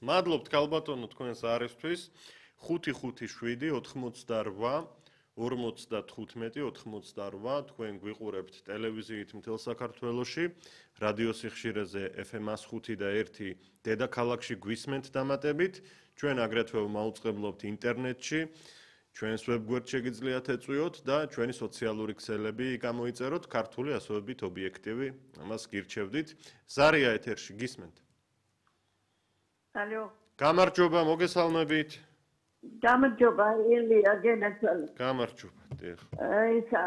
მადლობთ ქალბატონო თქვენს არისთვის 557 88 თქვენ გვიყურებთ ტელევიზიით მთელ საქართველოში რადიო სიხშირეზე FM 105 და 1 დედაქალაქში გვისმენთ დამატებით ჩვენ აგრეთვე მაუწყებლობთ ინტერნეტში ჩვენს ვებგვერდს შეგიძლიათ ეწვიოთ და ჩვენი სოციალური ქსელები გამოიწეროთ ქართული ასოებით ობიექტივი ამას გირჩევდით ზარია ეთერში გისმენთ ალო გამარჯობა მოგესალმებით გამარჯობა ილია გენაცვალე გამარჯობა დიახ ისა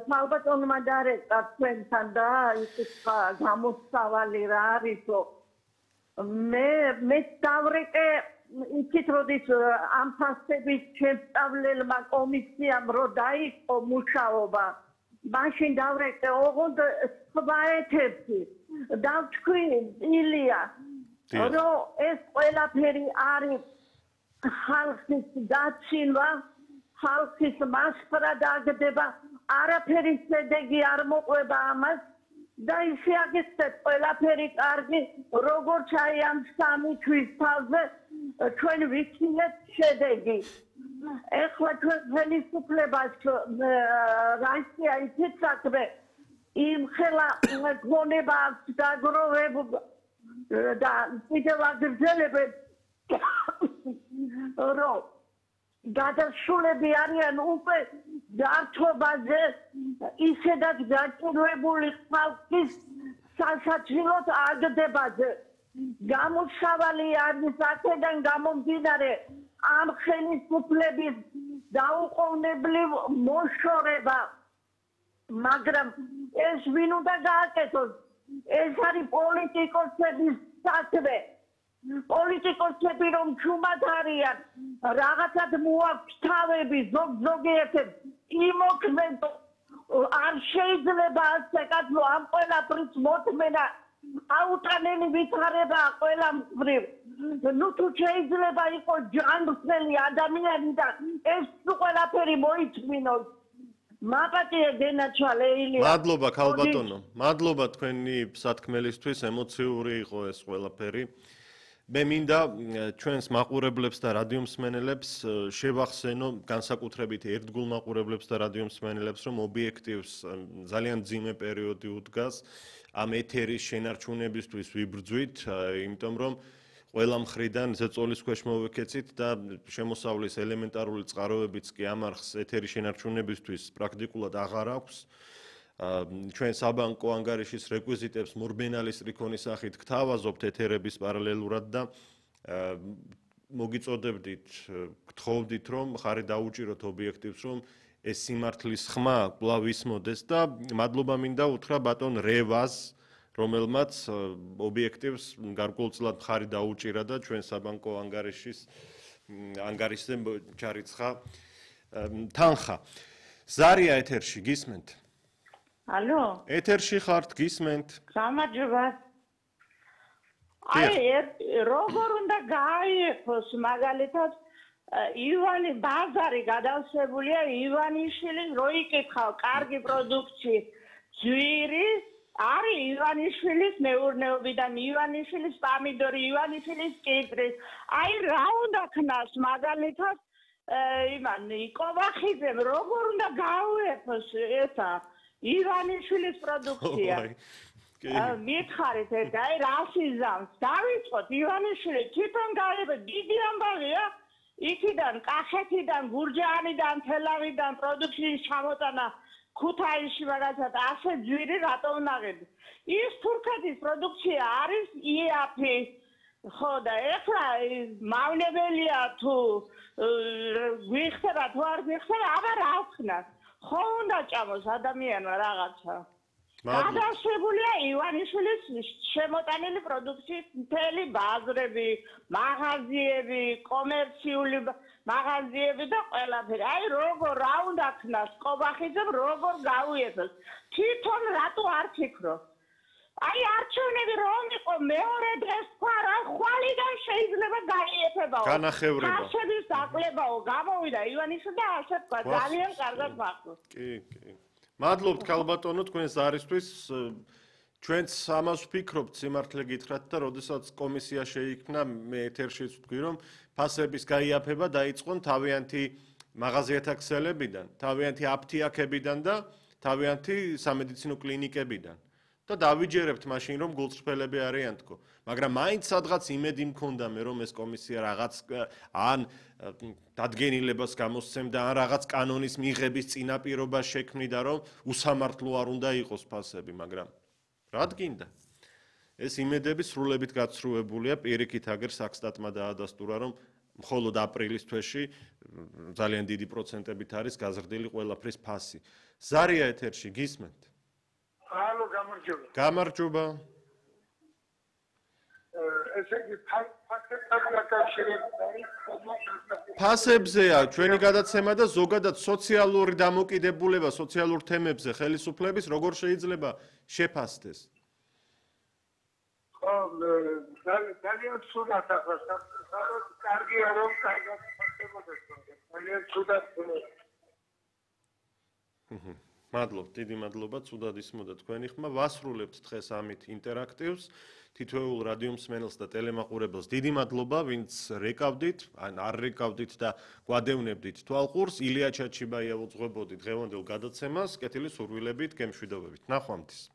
ქალბატონმა დარეკა თქვენთან და ის გამოსავალი რა არისო მე დავრეკე იქით როდის ამ ფასების შესწავლელმა კომისიამ რო დაიწყო მუშაობა მაშინ დავრეკე ოღონდ სხვა ეთერში და თქვი ილია რომ ეს ყველაფერი არის ხალხის დაცინვა ხალხის მასპრა დაგდება არაფერი შედეგი არ მოყვება ამას და ისე აგეცეთ ყველაფერი კარგი როგორც აი ამ სამი თვის თავზე ჩვენ ვიცინეთ შედეგი ეხლა ჩვენ ხელისუფლებას რაიცია ისეთ საქმე იმ ხელა გონება აქვს დაგროვებული და კიდევ აგრძელებენ რომ გადასულები არიან უკვე ჯართობაზე ისედაც გაჭირვებული ხალხის სასაცილოდ აგდებაზე გამოსავალი არის აქედან გამომდინარე ამ ხელისუფლების დაუყოვნებლივ მოშორება მაგრამ ეს ვინ უნდა გააკეთოს ეს არის პოლიტიკოსების საქმე პოლიტიკოსები რომ ჩუმად არიან რაღაცად მოაქვს თავები ზოგიერთებს იმოქმედო არ შეიძლება ასე კაცო ამ ყველაფრის მოთმენა აუტანელი ვითარება ყველა მხრივ ნუ თუ შეიძლება იყოს ჯანმრთელი ადამიანი და ეს ყველაფერი მოიწმინოს მაპატია დენაჩვალე ილია მადლობა ქალბატონო მადლობა თქვენი სათქმელისთვის ემოციური იყო ეს ყველაფერი მე მინდა ჩვენს მაყურებლებს და რადიომსმენელებს შევახსენო განსაკუთრებით ერთგულ მაყურებლებს და რადიომსმენელებს რომ ობიექტივს ძალიან ძიმე პერიოდი უდგას ამ ეთერის შენარჩუნებისთვის ვიბრძვით იმიტომ რომ ყველა მხრიდან ზეწოლის ქვეშ მოვიქეცით და შემოსავლის ელემენტარული წყაროებიც კი ამ არხს ეთერის შენარჩუნებისთვის პრაქტიკულად აღარ აქვს ჩვენ საბანკო ანგარიშის რეკვიზიტებს მორბენალის რიქონის სახით გთავაზობთ ეთერების პარალელურად და მოგიწოდებდით გთხოვდით რომ ხარი დაუჭიროთ ობიექტივს რომ ეს სიმართლის ხმა კვლავ ისმოდეს და მადლობა მინდა უთხრა ბატონ რევას რომელმაც ობიექტივს გარკვეულწილად ხარი დაუჭირა და ჩვენ საბანკო ანგარიშზე ჩარიცხა თანხა ზარია ეთერში გისმენთ ალო ეთერში ხართ გისმენთ გამარჯობა აი როგორ უნდა გაიერთოს მაგალითად ივანი ბაზარი გადავსებულია ივანიშვილის რო იკითხავ კარგი პროდუქცია ძვირის არის ივანიშვილის მეურნეობიდან ივანიშვილის პამიდორი ივანიშვილის კიტრის აი რა უნდა ქნას მაგალითად იმან კოვახიძემ როგორ უნდა გაუერთოს ესა ივანიშვილის პროდუქცია მითხარით ეს აი რასიზამს დავიწყოთ ივანიშვილი თვითონ გაიება დიდი ამბავია იქიდან კახეთიდან გურჯაანიდან თელავიდან პროდუქციის ჩამოტანა ქუთაისში მაგალითად ასე ძვირი რატო უნაღები ის თურქეთის პროდუქცია არის იაფი ხო და ეხლა მავნებელია თუ გვიხსება თუ არ გვიხსება აბა რა ვქნას ხო უნდა ჭამოს ადამიანმა რაღაცა გადასებულია ივანიშვილის შემოტანილი პროდუქციის მთელი ბაზრები მაღაზიები კომერციული მაღაზიები და ყველაფერი აი როგორ რა უნდა ქნას კობახიძემ როგორ გაუერთოს თვითონ რატო არ ფიქრობს აი არჩევნები რომ იყო მეორე დღეს თქვა რა ხვალიდან შეიძლება გაიერთებაო განახევრება ხალხების დაკლებაო გამოვიდა ივანიშვილი და ასე თქვა ძალიან კარგად მახსოვს კი მადლობთ ქალბატონო თქვენს არისთვის ჩვენც ამას ვფიქრობთ, სიმართლე გითხრათ და როდესაც კომისია შეიქმნა, მე ეთერშიც ვთქვი, რომ ფასების გაიაფება დაიწყონ თავიანთი მაღაზიათა ქსელებიდან, თავიანთი აფთიაქებიდან და თავიანთი სამედიცინო კლინიკებიდან. და დავიჯერებთ მაშინ რომ გულწრფელები არიან თქო, მაგრამ მაინც სადღაც იმედი მქონდა მე რომ ეს კომისია რაღაც ან დადგენილებას გამოსცემდა, ან რაღაც კანონის მიღების წინაპირობა შექმნიდა, რომ უსამართლო არ უნდა იყოს ფასები, მაგრამ რა გინდა? ეს იმედები სრულებით გაცრუებულია, პირიქით აგერ საქსტატმა დაადასტურა, რომ მხოლოდ აპრილის თვეში ძალიან დიდი პროცენტებით არის გაზრდილი ყველაფრის ფასი. ზარია ეთერში გისმენთ? ალო, გამარჯობა. გამარჯობა. ესე იგი ფასებთან დაკავშირებით ფასებზეა ჩვენი გადაცემა და ზოგადად სოციალური დამოკიდებულება სოციალურ თემებზე ხელისუფლების როგორ შეიძლება შეფასდეს? ხო, ძალიან ცუდად ახლა კარგია რომ კარგად ფასებოდეს. ძალიან ცუდად. მადლობ, დიდი მადლობა, ცუდად ისმოდა თქვენი ხმა. ვასრულებთ დღეს ამით ინტერაქტივს. თითოეულ რადიო მსმენელს და ტელემაყურებელს დიდი მადლობა, ვინც რეკავდით, ან არ რეკავდით და გვადევნებდით თვალყურს. ილია ჩაჩიბაია უძღვებოდი დღევანდელ გადაცემას, კეთილი სურვილებით, გემშვიდობებით. ნახვამდის.